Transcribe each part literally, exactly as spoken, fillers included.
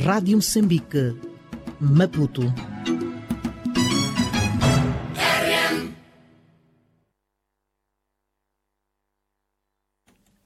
Rádio Moçambique, Maputo.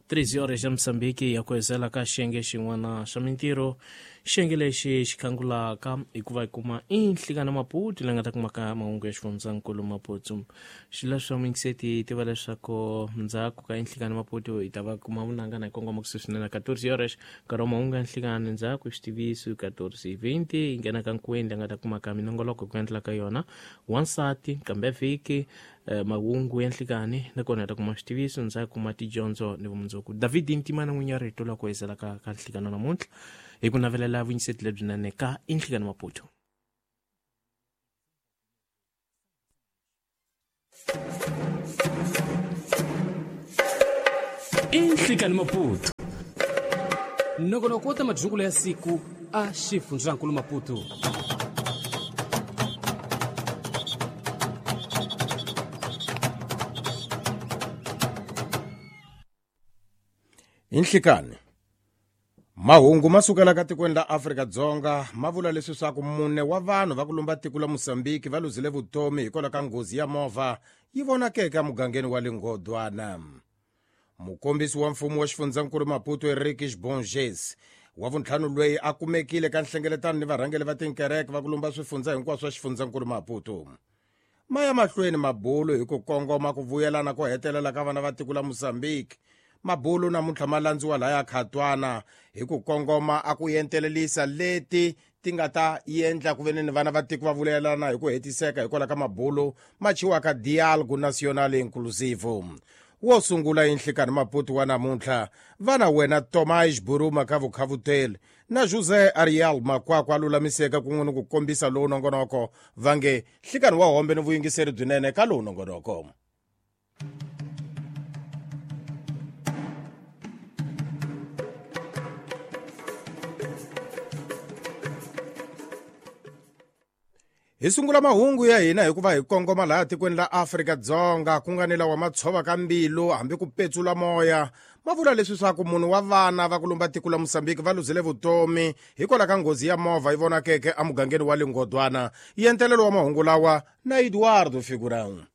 treze horas ya Moçambique ya kuhezela ka xiyenge xin'wana xa mintirho. Xiyenge lexi xi khangulaka hikuva hi kuma i Nhlikana Maputo leyi nga ta kumaka mahungu ya xifundzankulu Maputo. Xileswo mingiseti tiva leswaku ndzhaku ka Nhlikana Maputo hi ta va kuma vunanga na hi kongoma kusuhi swinene quatorze horas nkarhi wa mahungu ya Nhlikana ndzhaku xitiviso quatorze vinte hi nghena ka Nkwendla nga ta kumaka minongoloko ku endla ka yona wansati kambe vhiki mahungu ya Nhlikani nakona hi ta kuma xitiviso ndzhaku kuma tidyondzo ni vumundzuku. David Ntimana n'winyi wa rito la ku hezela ka ka Nhlikana namuntlha hi ku navelela vuyingiseti lebyinene ka Nhlikana Maputo. Nhlikana Maputo nongonoko wa madyungulo ya siku a xifundzankulu Maputo. Nhlikani mahungu ma sukela ka tikweni la Afrika-Dzonga ma vula leswi swa ku mune wa vanhu va ku lumba tiko la Mozambique va luzile vutomi hikwalaho ka nghozi ya movha yi vonakeke emugangeni wa Lingodwana. Mukombisi wa mfumo wa xifundzankulu Maputo Eric Bonges wa vuntlhanu loyi a kumekile ka nhlengeletano ni varhangeri va tinkereke va ku lumba swifundza hinkwaswo swa xifundzankulu Maputo. Ma ya mahlweni mabulo hi ku kongoma ku vuyelana ko hetelela ka vana va tiko la Mozambique. Mabulo namuntlha ma landziwa laya Khatwana hi ku kongoma a ku yentelelisa leti ti nga ta endla ku veni ni vana va tiko va vulelana hi ku hetiseka hikwalaho ka mabulo ma chiwaka Dialogue National Inclusive. Wo sungula Nhlikani Maputo wa namuntlha vana wena Tomás Buruma ka Vukhavuteli na José Ariel Makwakwa a lulamiseka kun'we ni ku kombisa lowu nongonoko va nge Nhlikani wa hombe ni vuyingiseri byinene ka lowu nongonoko. Hi sungula mahungu ya hina hikuva hi kongoma laha tikweni la Afrika-Dzonga ku nga ni lawa ma tshova ka mbilu hambi ku petsula moya ma vula leswi swa ku munhu wa vana va ku lumba tiko la Mozambique va luzile vutomi hikwalaho ka nghozi ya movha yi vonakeke emugangeni wa Lingodwana. Yentelelo wa mahungu lawa na Eduardo Figurão.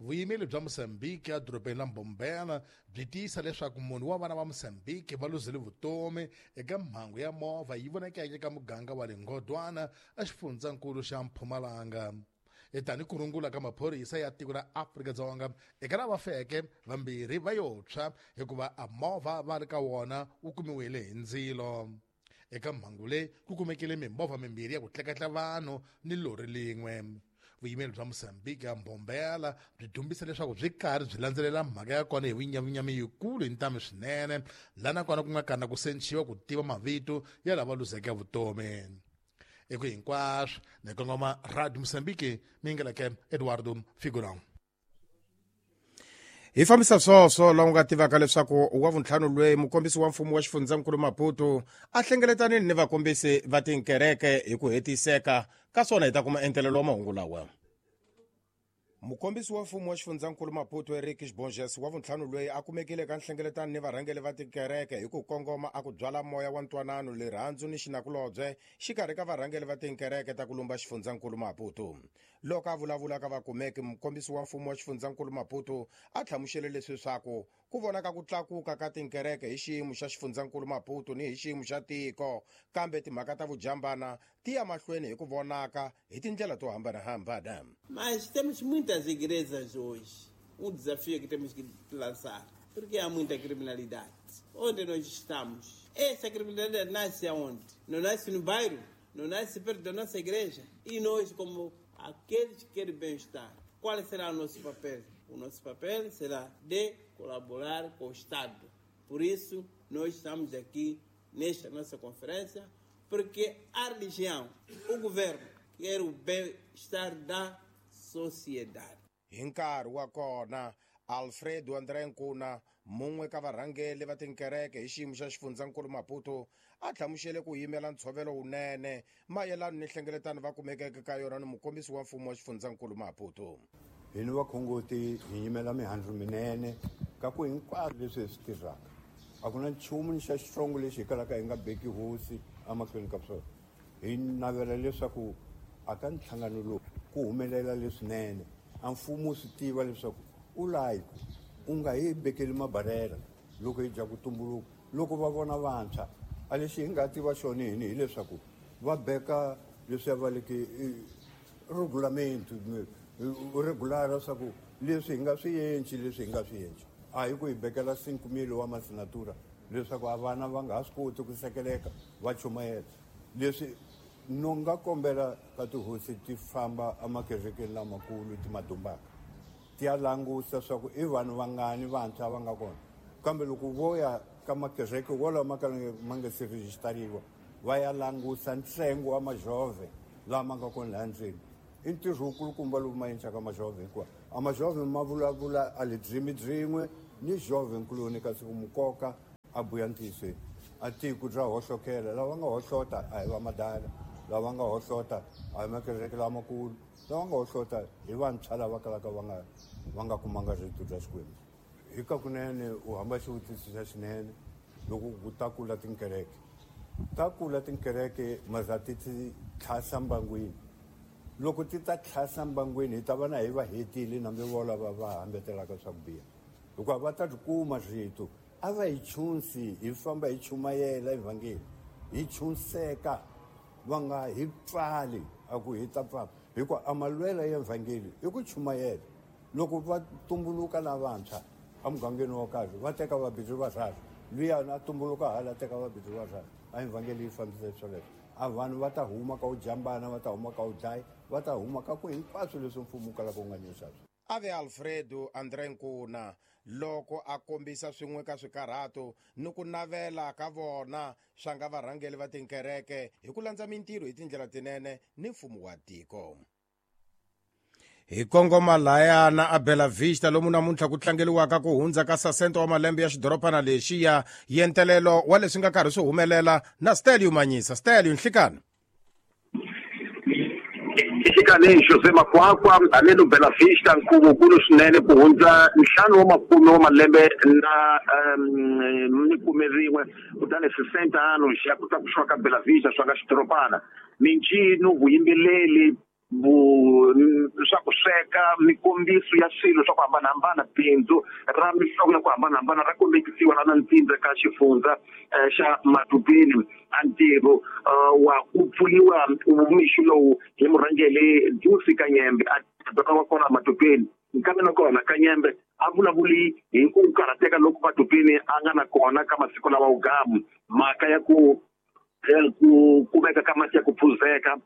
Vuyimeli bya Mozambique edorobeni la Mbombela byi tiyisa leswaku munhu wa vana va Mozambique va luzile vutomi eka mhangu ya movha yi vonakeke eka muganga wa Lingodwana exifundzankulu xa Mpumalanga. Tani ku rungula ka maphorisa ya tiko ra Afrika-Dzonga eka lava feke vambirhi va yo tshwa hikuva a movha va ri ka wona wu kumiwile hi ndzilo. Eka mhangu leyi ku kumekile mimovha mimbirhi ya ku tleketla vanhu ni lori lin'we. Vuyimeli bya Mozambique ya Mbombela byi dumbisa leswaku byi karhi byi landzelela mhaka ya kona hi vunyavunyami yikulu hi ntamu swinene laha nakona ku nga kana ku sechiwa ku tiva mavito ya lava luzeke vutomi. Eku hinkwaswo ni kongoma Radio Mozambique mingeleke Eduardo Figurão. Hi fambisa swoswo laha u nga tivaka leswaku wa vuntlhanu loyi mukombisi wa mfumo wa xifundzankulu Maputo a hlengeletanile ni vakombisi va tinkereke hi ku hetiseka ka swona hi ta kuma entelelo wa mahungu lawa. Mukombisi wa mfumo wa xifundzankulu Maputo Eric Bonges wa vuntlhanu loyi a kumekile ka nhlengeletano ni varhangeri va tinkereke hi ku kongoma a ku byala moya wa ntwanano rirhandzu ni xinakulobye xikarhi ka varhangeri va tinkereke ta ku lumba xifundzankulu Maputo. Loko a vulavula ka vakumeki mukombisi wa mfumo wa xifundzankulu Maputo a hlamusele leswi swaku ku vonaka ku tlakuka ka tinkereke hi xiyimo xa xifundzankulu Maputo ni hi xiyimo xa tiko kambe timhaka ta vujambana ti ya mahlweni hi ku vonaka hi tindlela to hambanahambana. Mas temos muitas igrejas hoje. Um desafio que temos que lançar, porque há muita criminalidade. Onde nós estamos? Essa criminalidade nasce aonde? Não nasce no bairro, não nasce perto da nossa igreja. E nós, como aqueles que querem bem-estar, qual será o nosso papel? O nosso papel será de colaborar com o Estado. Por isso, nós estamos aqui nesta nossa conferência, porque a religião, o governo, quer o bem-estar da sociedade. Hi nkarhi wa kona Alfredo André Nkuna mun'we ka varhangeri va tinkereke hi xiyimo xa xifundzankulu Maputo a hlamusele ku yimela ntshovelo wunene mayelana ni nhlengeletano va kumekeke ka yona ni mukombisi wa mfumo wa xifundzankulu Maputo. Hina vakhongoti hi yimela mihandzu minene ka ku hinkwaswo leswi hi swi tirhaka A ku na nchumu ni xa xitsongo lexi hi kalaka hi nga beki hosi emahlweni ka swona. Hi navela leswaku aka nhlangano lowu ku humelela leswinene. A mfumo wu swi tiva leswaku u layi u nga hi bekeli mabarela loko hi dya ku tumbuluka. Loko va vona vantshwa a lexi hi nga tiva xona hini hileswaku va beka leswi va leke regulamento regular leswaku leswi hi nga swi endli leswi hi nga swi endli. A hi ku hi bekela cinco mil wa masinatura leswaku a vana va nga ha swi koti ku sekeleka va chumayela. Leswi no nga kombela ka tihosi ti famba emakerekeni lamakulu ti madumbaka ti ya langusa swa ku i vanhu vangani vantshwa va nga kona. Kambe loko vo ya ka makereke wolawo ma ka ma nga se rejistariwa va ya langusa ntsengo wa majove lama nga kona laha ndzeni. I ntirho wukulukumba lowu ma endlaka majove hikuva a majove ma vulavula a lidzimi byin'we ni jove nkuloni kasi ku mukoka a buya ntiyisweni. A tiko bya hohlokela lava nga hohlota a hi va madala, lava nga hohlota a hi makereke lamakulu, lava nga hohlota hi vantshwa lava kalaka va nga va nga kumanga rito bya Xikwembu. Hi ka kunene u hamba xivutiso xa xinene loko ku ta kula tinkereke. Ta kula tinkereke maza ti ti tlhasa mbangwini. Loko ti ta tlhasa mbangwini hi ta va na hi va hetile nambe vo lava va hambetelaka swa ku biha. Hikuva va ta ri kuma rito a va hi chunsi hi famba hi chumayela evhangeli hi chunseka va nga hi pfali a ku hi ta pfala hikuva a malwela ya evhangeli i ku chumayela. Loko va tumbuluka lavantshwa emugangeni wo karhi va teka vabindzu varharhu luya a tumbuluka hala teka vabindzu varharhu a evhangeli yi fambisa swoleswo. A vanhu va ta huma ka u jambana va ta huma ka u dlaya va ta huma ka ku hinkwaswo leswi mfumo wu kalaka wu nga nyisa swona. Ave Alfredo André Nkuna loko a kombisa swin'we ka swikarhato ni ku navela ka vona swa nga varhangeli va tinkereke hi ku landza mintirho hi tindlela tinene ni mfumo wa tiko. Hi kongoma layana a Bela Vista lomu namuntlha ku tlangeliwaka ku hundza ka sasente wa malembe ya xidorobana lexiya yentelelo wa leswi nga karhi swi humelela na Stelio Manyisa. Stelio, nhlikani. Nhlikani José Makwakwa haleno Bela Vista nkhuvo swinene ku hundza ntlhanu wa makume wa malembe na ni khume rin'we kutani sesenta anos ya ku tlakusiwa ka Bela Vista swa nga xidorobana. Mincino, vuyimbeleri, bu swa ku sweka, mikombiso ya swilo swa ku hambanahambana, bindzu ra mihlovo ya ku hambanahambana ra kombekisiwa na ntsindza ka xifundza xa Matubeni. A ntirho wa ku pfuriwa mixo lowu hi murhangeri Dusi Kanyembe a doka wa kona Matubeni. Nkambe nakona Kanyembe a vulavuli hi ku karhateka loko Matubeni a nga na kona ka masiku lawa wugamu mhaka ya ku ku kumeka ka mati ya ku phuzeka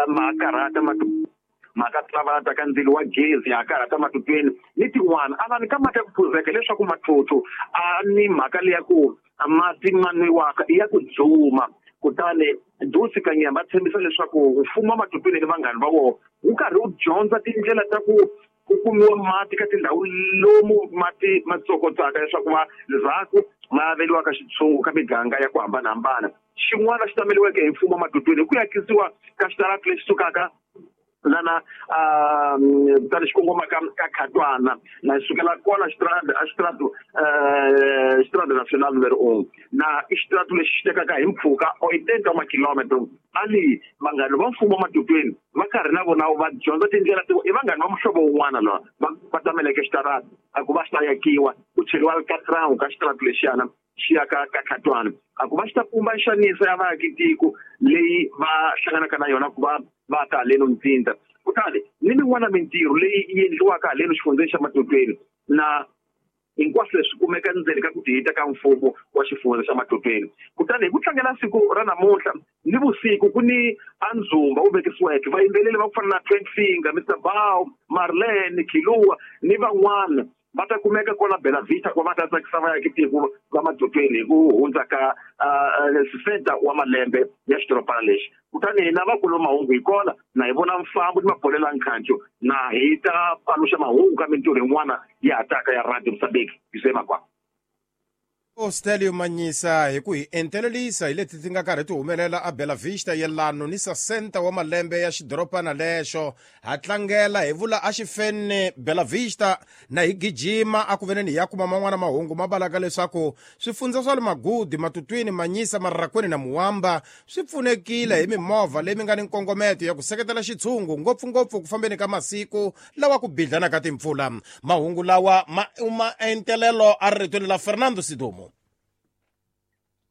ma karhata mhaka tlavata ka ndzilo wa gezi ya karhata Matubeni ni tin'wana. A va ni ka mati ya ku phuzeka leswaku mathotho a ni mhaka leya ku mati ma nwiwaka i ya ku dzuma. Kutani Dusi Kanyembe a tshembisa leswaku mfumo wa Matubeni ni vanghani va wona wu karhi wu dyondza tindlela ta ku ku kumiwa mati ka tindhawu lomu mati ma tsokotsaka leswaku va ndzhaku ma averiwaka xitshungu ka miganga ya ku hambanahambana. Xin'wana xi tameliweke hi mfumo wa Matubeni hi ku yakisiwa ka xitarata lexi sukaka lana kutani xi kongoma ka ka Khatwana na sukela kona xitarata a xitarata xitarata national numero un na i xitarata lexi xi tekaka hi mpfhuka oitenta wa makilometro. Ali vanghani va mfumo wa Matubeni va karhi na vona va dyondza tindlela to i vanghani va muhlovo wun'wana lawa va va tameleke xitarata a ku va xi ta yakiwa ku cheriwa katrawu ka xitarata lexiyana xi ya ka ka Khatwana a ku va xi ta pumba nxaniso ya vaakitiko leyi va hlanganaka na yona ku va va ta haleno ntsindza. Kutani ni min'wana mintirho leyi yi endliwaka haleno xifundzeni xa Matubeni na hinkwaswo leswi kumeka ndzeni ka ku tihita ka mfumo wa xifundza xa Matubeni. Kutani hi ku tlangela siku ra namuntlha ni vusiku ku ni andzumba wu vekisiweke vayimbeleri va ku fana na Twin Finger, Mister Bow, Marlene Kilua ni van'wana va ta kumeka kwala Bela Vista ku va ta tsakisa vaakitiko va Matubeni hi ku hundza ka sesenta wa malembe ya xidorobana lexi. Kutani hina vakulu mahungu hi kona na hi vona mfambo ni mabolela nkhancu na hi ta paluxa mahungu ka mintirho yin'wana ya hataka ya Radio Mozambique. José Makwakwa. Stelio Manyisa hi ku hi entelelisa hi leti ti nga karhi ti humelela a Bela Vista yelano ni sesenta wa malembe ya xidorobana lexo. Ha tlangela hi vula a xifene Bela Vista na hi gijima a ku veneni hi ya kuma man'wana mahungu ma balaka leswaku swifundza swa le Magudi, Matutwini, Manyisa, Marrakweni na Muwamba swi pfunekile hi mimovha leyi mi nga ni nkongometo ya ku seketela xitshungu ngopfungopfu ku fambeni ka masiku lawa ku bidlana ka timpfula. Mahungu lawa ma uma entelelo a ritweni la Fernando Sidomo.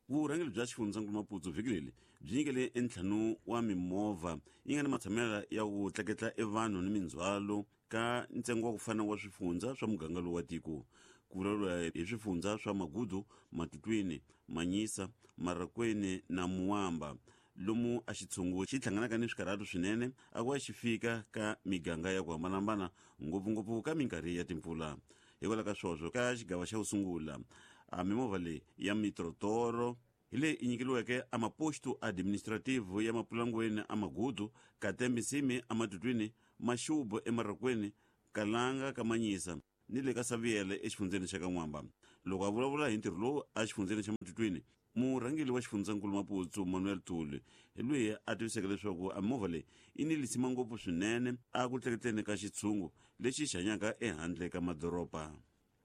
Vurhangeri bya xifundzankulu Maputo vhiki leri byi nyikele entlhanu wa mimovha yi nga ni matshamelo ya ku tleketla evanhu ni mindzhwalo ka ntsengo wa ku fana wa swifundza swa muganga lowu wa tiko. Ku vulavuriwa hi swifundza swa Magudu, Matutwini, Manyisa, Marrakweni na Muwamba, lomu a xitshungu xi hlanganaka ni swikarhato swinene a ku va xi fika ka miganga ya ku hambanahambana, ngopfungopfu ka minkarhi ya timpfula. Hikwalaho ka swoswo ka xigava xa ku sungula a mimovha leyi ya mitrotoro hi leyi i nyikeliweke a maposto administrative ya Mapulangweni a Magudu, Katembe-Nsimi a Matutwini, Maxubu eMarrakweni, Kalanga ka Manyisa ni le ka Saviele exifundzeni xa Kan'wamba. Loko a vulavula hi ntirho lowu a xifundzeni xa Matutwini, murhangeri wa xifundzankulu Maputo Manuel Tuli hi loyi a tiviseke leswaku a mimovha leyi yi ni lisima ngopfu swinene a ku tleketleni ka xitshungu lexi xi hanyaka ehandle ka madoroba.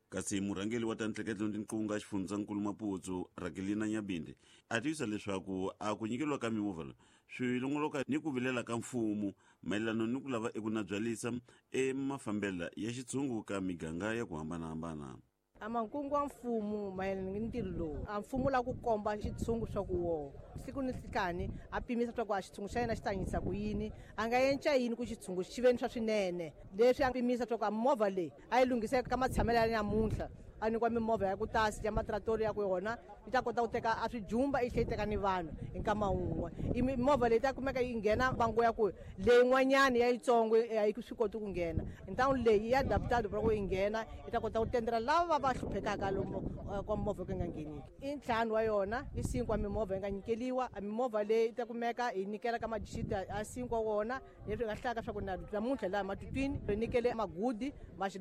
Kasi murhangeri wa ta ntleketlo ni tinqunga xifundzankulu Maputo Rakelina Nyabinde a tivisa leswaku a ku nyikeriwa ka mimovha leyi swi longoloka ni ku vilela ka mfumo mayelana ni ku lava eku nabyalisa emafambela ya xitshungu ka miganga ya ku hambanahambana. A mankungu wa mfumo mayelana ni ntirho lowu a mfumo la ku komba xitshungu swa ku wo siku ni nhlikani a pimisa swa ku a xitshungu xa yena xi tanyisa ku yini, a nga yenca yini ku xitshungu xi ve ni swa swinene. Leswi a pimisa swa ku a movha leyi a yi lunghiseka ka matshamelo ya namuntlha, a nyikiwa mimovha ya ku tasi ya matratori ya ku yona yi ta kota ku teka a swijumba yi tlhela yi teka ni vanhu hi nkama wun'we. I mimovha leyi ta kumeka yi nghena bango ya ku leyin'wanyani ya yitsongo a yi swi koti ku nghena. Ntawu leyi ya adaptado ku yi nghena yi ta kota ku tendela lava va hluphekaka lomu kwa movha ku nga ngheniki. I ntlhanu wa yona i cinco wa mimovha yi nga nyikeliwa. A mimovha leyi ta kumeka yi nyikela ka madixita a cinco wa wona, leswi nga hlaka swa ku na namuntlha laha Matutwini ri nyikele Magudi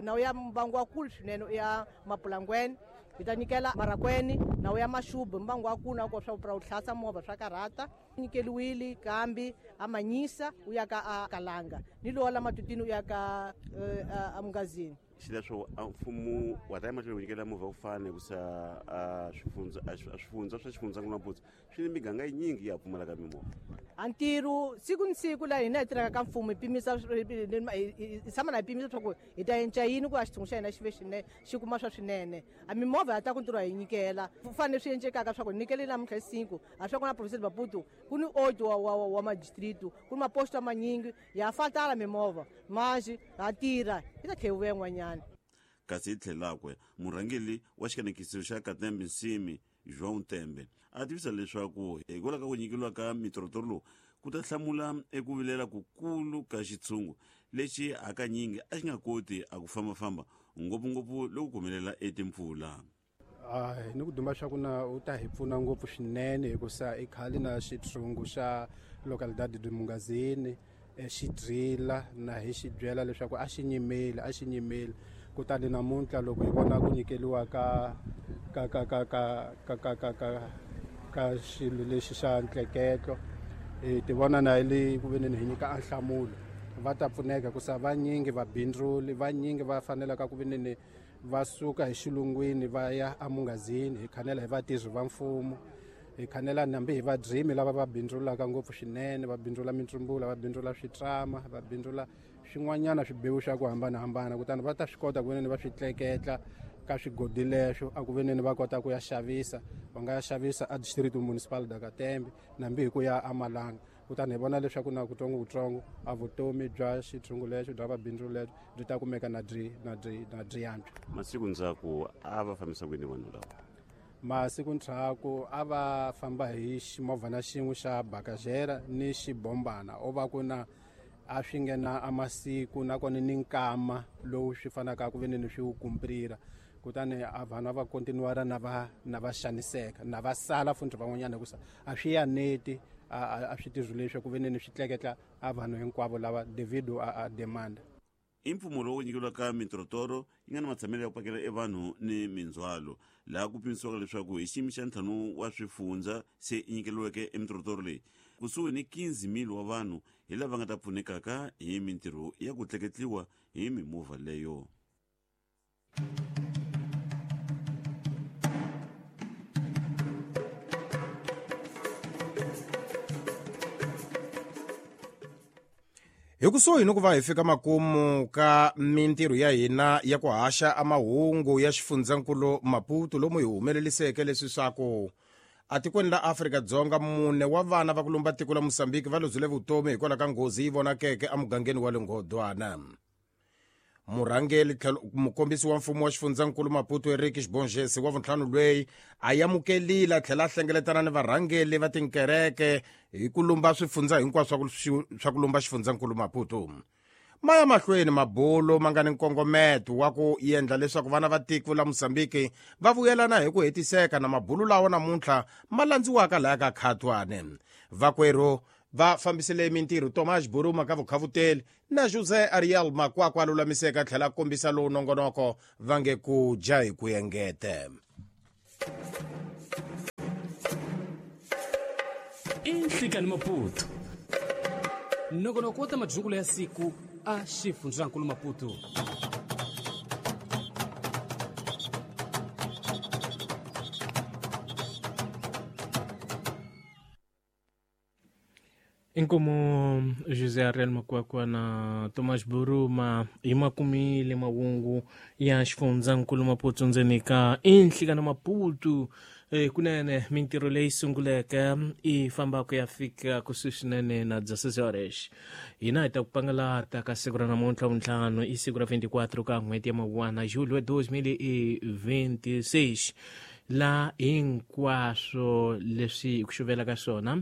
nawu ya mbangu wa kulu swinene ya Mapulangweni, hi ta nyikela Marrakweni nawu ya Maxubu mbangu wa kulu na ku swa ku hlatsa movha swa karhata. Nyikeliwile kambi a Manyisa u ya ka a Kalanga ni lowa la Matutwini u ya ka a Mungazini. Xileswo a mfumo wa ta emahlweni ku nyikela movha ku fana hikusa a swifundza a swifundza swa xifundzankulu Maputo swi ni miganga yinyingi ya pfumalaka mimovha. A ntirho siku ni siku laha hina hi tirhaka ka mfumo hi pimisa hi tshama na hi pimisa swa ku hi ta yenca yini ku a xitshungu xa hina xi ve xinene xi kuma swa swinene. A mimovha ya ta ku ntirho hi nyikela ku fanele swi encekaka swa ku hi nyikele namuntlha hi cinco a swa ku na province Maputo ku ni oito wa wa wa madistrito ku ni maposto manyingi ya fatala mimovha manji ha tirha yi ta tlhela yi vuya yin'wanyana. Kasi hi tlhelakwe murhangeri wa xikanekiso xa Katembe-Nsimi João Tembe a tivisa leswaku hikwalaho ka ku nyikeriwa ka mitrotoro lowu ku ta hlamula eku vilela kukulu ka xitshungu lexi hakanyingi a xi nga koti a ku fambafamba ngopfungopfu loko ku humelela etimpfula. Ni ku duma swa ku na u ta hi pfuna ngopfu swinene hikusa i khale na xitshungu xa localidade de Mungazini xi drila na hi xi byela leswaku a xi nyimeli a xi nyimeli. Kutani namuntlha loko hi vona ku nyikeliwa ka ka ka ka ka ka ka ka ka ka xilo lexi xa ntleketlo hi ti vona na hi le ku veneni hi nyika a nhlamulo va ta pfuneka hikusa vanyingi vabindzuli vanyingi va fanelaka ku veneni va suka hi xilungwini va ya eMungazini. Hi khanela hi vatirhi va mfumo, hi khanela nambi hi vadrimi lava va bindzulaka ngopfu swinene, va bindzula mitsumbula, va bindzula switrama, va bindzula swin'wanyana swibewu swa ku hambanahambana. Kutani va ta swi kota ku veneni va swi tleketla ka swigodi leswo a ku veneni va kota ku ya xavisa, va nga ya xavisa a district municipal da Katembe nambi hi ku ya amalanga. Kutani hi vona leswaku na kutsongokutsongo a vutomi bya xitshungu lexo bya vabindzu lexo byi ta kumeka na byi na byi na byi yantswa. Masiku ndzhaku a va fambisa kwini vanhu lava? Masiku ndzhaku a va famba hi ximovhana xin'we xa bakajera ni xibombana o va ku na a swi nghena a masiku nakona ni nkama lowu swi fanaka ku veneni swi wu kumprira. Kutani a vanhu a va kontinuara na va na va xaniseka na va sala futhi van'wanyana hikusa a swi yaneti a swi tirhi leswi ku veneni swi tleketla a vanhu hinkwavo lava devido a, a demand. I mpfumo lowu nyikeriwaka mitorotoro yi nga na matshamelo ya ku pakela e vanhu ni mindzhwalo, laha ku pimisiwaka leswaku hi xiyimo xa ntlhanu wa swifundza se yi nyikeriweke emitorotoro leyi, kusuhi ni quinze mil wa vanhu hi lava nga ta pfunekaka hi mintirho ya ku tleketliwa hi mimovha leyo. Hi kusuhi ni ku va hi fika makumu ka mintirho ya hina ya ku haxa amahungu ya xifundzankulu Maputo, lomu hi humeleliseke leswi swa ku atikweni la Afrika-Dzonga mune wa vana va ku lumba tiko la Mozambique va luzile vutomi hikwalaho ka nghozi yi vonakeke emugangeni wa Linghodwana. Murhangeri mukombisi wa mfumo wa xifundzankulu Maputo Eric Xibongesi wa vuntlhanu lweyi a amukelile a tlhela a hlengeletana ni varhangeri va tinkereke hi ku lumba swifundza hinkwaswo swa ku lumba xifundzankulu Maputo. Ma ya mahlweni mabulo ma nga ni nkongometo wa ku endla leswaku vana va tiko la Mozambique va vuyelana hi ku hetiseka na mabulo lawa namuntlha ma landziwaka laya ka Khatwane. Vakwerhu va fambisile mintirho Thomas Buruma ka vukhavuteli na José Ariel Makwakwa a lulamiseka a tlhela a kombisa lowu nongonoko va nge ku dya hi ku engete. I Nhlikani Maputo, nongonoko wa ta madyungulo ya siku a xifundzankulu Maputo. Inkomo José Ariel Makwakwa na Thomas Buruma hi makumile mahungu ya xifundzankulu Maputo ndzeni ka Inhlikani Maputo. Eh, kunene mintirho leyi sunguleke i famba ku ya fika kusuhi swinene na dezesseis horas. Hina hi ta ku pangalata ka siku ra namuntlha vuntlhanu i siku ra vinte e quatro ka n'hweti ya Mawuwana julho dois mil e vinte e seis, la hinkwaswo leswi hi ku xuvela ka swona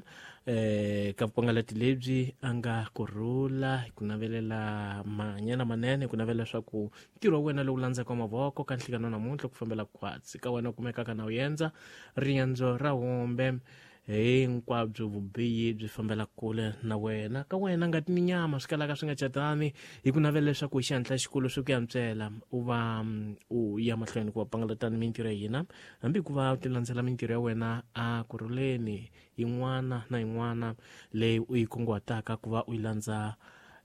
eh ka vupangalati lebyi a nga kurhula hi ku navelela manyana manene, hi ku navela leswaku ntirho wa wena lowu landzaka mavoko ka nhlikano namuntlha ku fambela khwatsi ka wena u kumekaka na u endza riendzo ra hombe hinkwabyo vubihi byi fambela kule na wena ka wena ngati ni nyama swi kalaka swi nga catani, hi ku navela leswaku hi xihatla xikulu swi ku yantswela u va u ya mahlweni ku va pangalatani mintirho ya hina, hambi ku va u ti landzela mintirho ya wena a kurhuleni yin'wana na yin'wana leyi u yi kunguhataka ku va u yi landza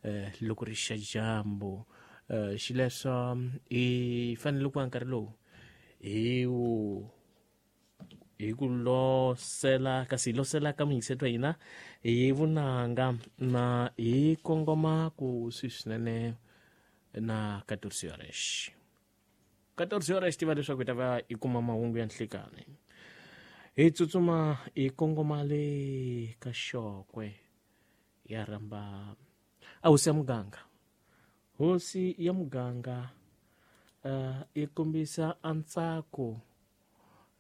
eh, loko ri xa dyambu. Eh, xileswo hi fanele ku va nkarhi lowu hi wu hi ku losela kasi hi losela ka muyingiseti wa hina hi vunanga na hi kongoma ku swi swinene na quatorze horas. quatorze horas tiva leswaku hi ta va hi kuma mahungu ya nhlikani. Hi tsutsuma hi kongoma le ka Xokwe ya rhamba a hosi ya muganga. Hosi ya muganga uh, yi kombisa a ntsako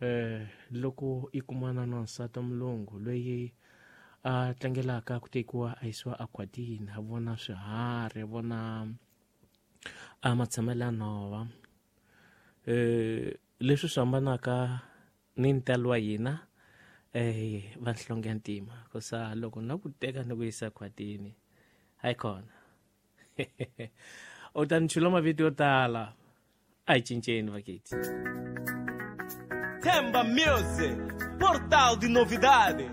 eh loko i kumana na nsati mulungu loyi a tlangelaka ku tekiwa a yisiwa akhwatini, a vona swiharhi, a vona a matshamelo ya nhova, eh leswi swi hambanaka ni ntalo wa hina eh va nhlonge ya ntima, kosa loko na ku teka ni ku yisa khwatini hayi kona u ta ni chula mavito yo tala. A hi cinceni vaketi. Temba Music, portal de novidade.